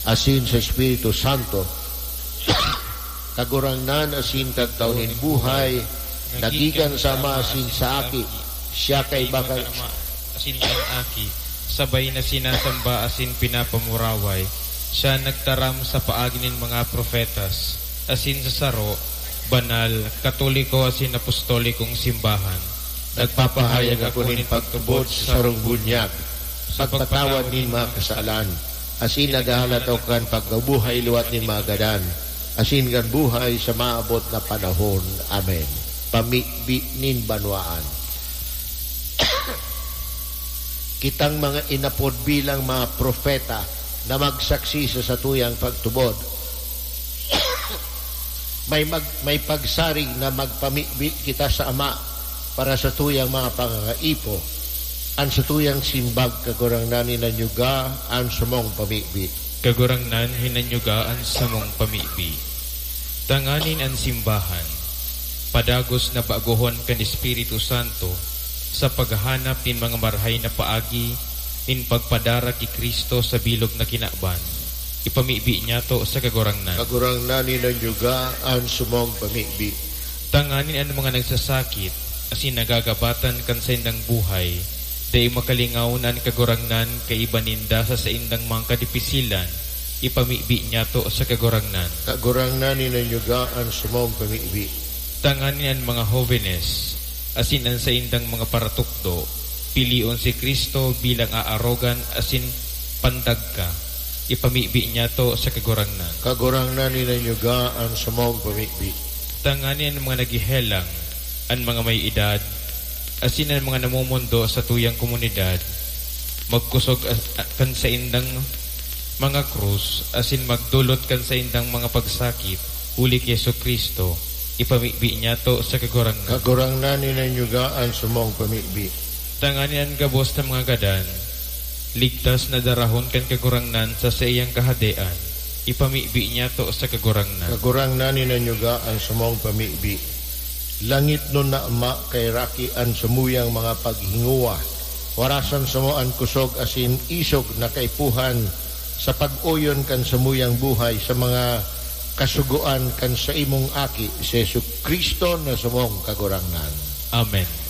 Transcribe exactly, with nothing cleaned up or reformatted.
asin sa Espiritu Santo, Kagurangnan asin Kagtao nin buhay, nagikan sa Ama asin sa Aki, siya kaiba kan Ama asin kan Aki, sabay na sinasamba asin pinapamuraway. Siya nagtaram sa paagi nin mga propetas, asin sa saro, banal, katoliko asin apostolikong simbahan. Nagpapahayag ako nin pagtubod sa sarong bunyag, pagpatawad nin mga kasalan, asin naghahalat ako kan pagkabuhay liwat nin mga gadan, asin kan buhay sa maabot na panahon. Amen. Pamibi nin banwaan. Kitang mga inapod bilang mga propeta na magsaksi sa satuyang pagtubod. May mag-, may pagsarig na magpamibi kita sa Ama para sa tuyang mga pangangaipo. An satuyang simbag, Kagurangnan, hinanyuga an samong pamibi. Kagurangnan, hinanyuga an samong pamibi. Tanganing an simbahan, padagos na bagohon kan Espiritu Santo sa paghahanap nin mga marahay na paagi nin pagpadara ki Cristo sa bilog na kinaban. Ipamibi niyato sa Kagurangnan. Kagurangnan, hinanyuga an samong pamibi. Tanganing an mga nagsasakit asin nagagabatan kan saindang buhay, dai makalingaw na an Kagurangnan kaiba ninda sa saindang mga kadipisilan. Ipamibi niyato sa Kagurangnan. Kagurangnan, hinanyuga an samong pamibi. Tanganing an mga hobenes asin an saindang mga paratukdo, pilion si Cristo bilang aarogan asin pandagka. Ipamibi niyato sa Kagurangnan. Kagurangnan, hinanyuga an samong pamibi. Tanganing an mga naghehelang, an mga may edad, asin an mga namomondo sa tuyang komunidad, magkusog as-, a-, kan saindang mga krus, asin magdolot kan saindang mga pagsakit, huli ki Jesu-Cristo, ipamibi niyato sa Kagurangnan. Kagurangnan, hinanyuga an samong pamibi. Tanganing an gabos na mga gadan, ligtas na darahon kan Kagurangnan sa saiyang Kahadean, ipamibi niyato sa Kagurangnan. Kagurangnan, hinanyuga an samong pamibi. Langitnon na Ama, kaheraki an samuyang mga paghingowa. Warasan samo an kusog asin isog na kaipuhan sa pag-oyon kan samuyang buhay sa mga kasugoan kan saimong Aki, si Jesu-Cristo na samong Kagurangnan. Amen.